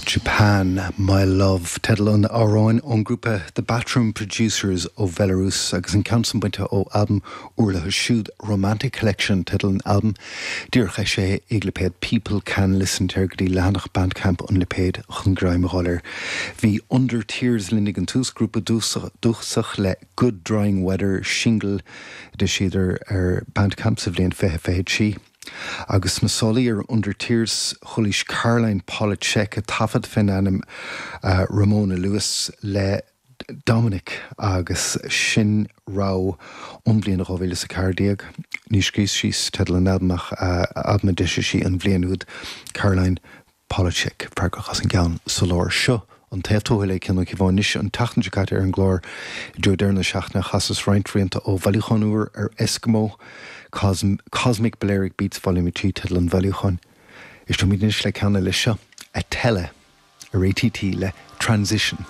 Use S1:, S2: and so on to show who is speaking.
S1: Japan, My Love, teideal an amhráin ón ngrúpa The Bathroom Producers ó Bhelarús agus an ceann san bainte ó albam úr leo siúd, Romantic Collection teideal an albaim. Díreach eisithe ag lipéad People Can Listen, téir go dtí leathanach Bandcamp an lipéid chun greim a fháil air. Bhí Under Tears linn ag an tús, grúpa dúchasach le Good Drying Weather, singil a d'eisíodar ar Bandcamp sa bhliain 2023. Agus sna sálaí ar Under Tears, chualaís Caroline Polachek ag taifead fén ainm Ramona Lewis le Dominic agus sin rogha ón bhliain 2014. Ní scríos síos teideal an albaim ach albam a d'eisigh sí an bhliain úd, Caroline Polachek freagrach as an gceann sa lár. Seo an taobh tuathail le Cian Ó Cíobháin anois. An tseachtain seo caite ar an gclár i dtreo deireadh na seachtaine chasas roinnt rianta ó bhailiúchán úr ar Eskimo, Cosmic Balearic Beats Volume 3 teideal an bhailiúcháin. Éisteoimid anois le ceann eile seo, Attella ar ATT le Transition.